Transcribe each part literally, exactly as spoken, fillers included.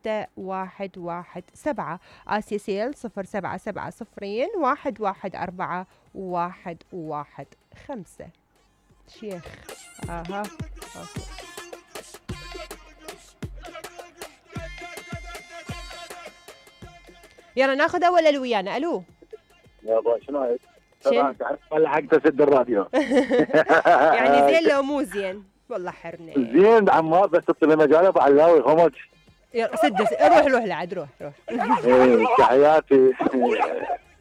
ستة واحد واحد سبعة. آسيا سيل صفر سبعة سبعة صفرين واحد واحد أربعة واحد واحد خمسة. شيخ اها أوكي. يلا ناخذ اول الو ويانا. الو يابا شنو هيك؟ شن؟ تعرف لحقت تسد الراديو. يعني زين لو مو زين والله حرنا. زين عمار بس تطلع مجال ابو علاوي خمج. يلا سد روح روح لعد روح روح. ايه تحياتي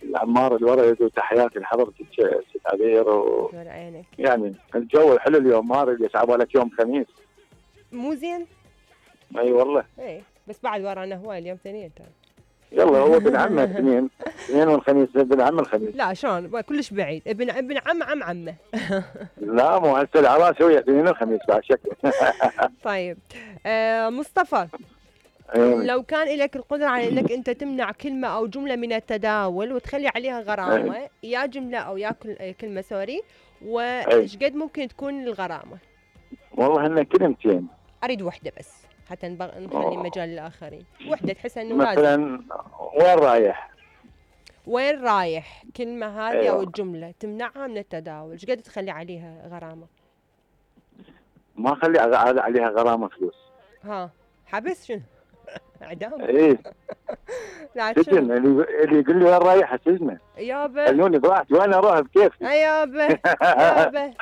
العمار الورد وتحياتي لحضرتك ست عبير و... عينك. يعني الجو حلو اليوم ما ادري ليش عبالك يوم خميس. مو زين؟ اي والله. اي بس بعد ورانا هواي اليوم ثانيين ترى. يلا هو ابن عمه اثنين اثنين والخميس ابن عم الخميس. لا شلون كلش بعيد ابن ابن عم عم عمه. لا مو هسه العراس هو اثنين الخميس بعد شكل. طيب آه مصطفى لو كان لك القدرة على انك انت تمنع كلمة او جملة من التداول وتخلي عليها غرامة يا جملة او يا كلمة سوري وايش قد ممكن تكون الغرامة؟ والله هن كلمتين. اريد وحدة بس حتى نخلي مجال للآخرين. وحدة تحس انه مثلا لازم. وين رايح؟ وين رايح؟ كلمة هذه أيوة. او الجملة تمنعها من التداول، ايش قد تخلي عليها غرامة؟ ما اخلي عليها غرامة فلوس. ها حبس شنو؟ اعدام؟ ايه سجن. اللي اللي يقول لي وين رايح سجنه. يابا خلوني براحتي وين اروح بكيفي. يابا يابا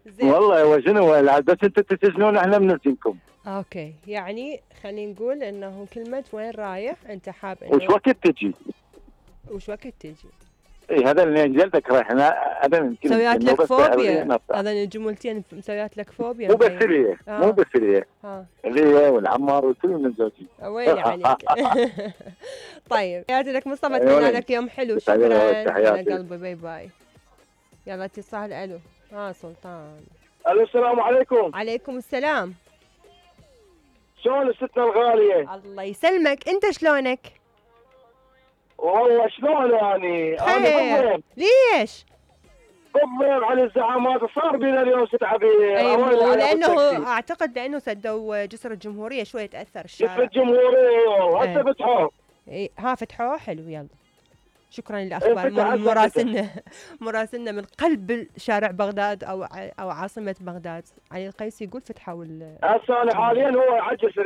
زين والله هو شنو بس انتم تسجنون احنا بنسجنكم. اوكي يعني خلينا نقول انه كلمة وين رايح انت حاب انه وش وقت تجي؟ وش وقت تجي؟ اي هذا اللي جلدك رايح هذا يمكن مسويات لك فوبيا. هذا الجملتين مسويات لك فوبيا. مو بس لي آه. مو بس لي اللي والعمار وكل من زوجي. وين عليك. طيب تحياتي لك مصطفى، اتمنى لك يوم حلو. شكرا على قلبي. باي باي. يلا اتصال. الو ها سلطان. الو السلام عليكم. عليكم السلام. شلون ستنا الغالية؟ الله يسلمك. انت شلونك؟ والله شلون يعني؟ انا ليش؟ بالضيم على الزعامات صار بينا اليوم ست عبير. ايوه لانه اعتقد لانه سدوا جسر الجمهورية شوي تاثر الشارع. جسر الجمهورية هسه فتحوه. اي ها فتحوه حلو. يلا شكرا للاخبار. مراسلنا مراسلنا من قلب شارع بغداد او او عاصمة بغداد علي القيسي يقول فتحوا. هسه انا حاليا هو عجز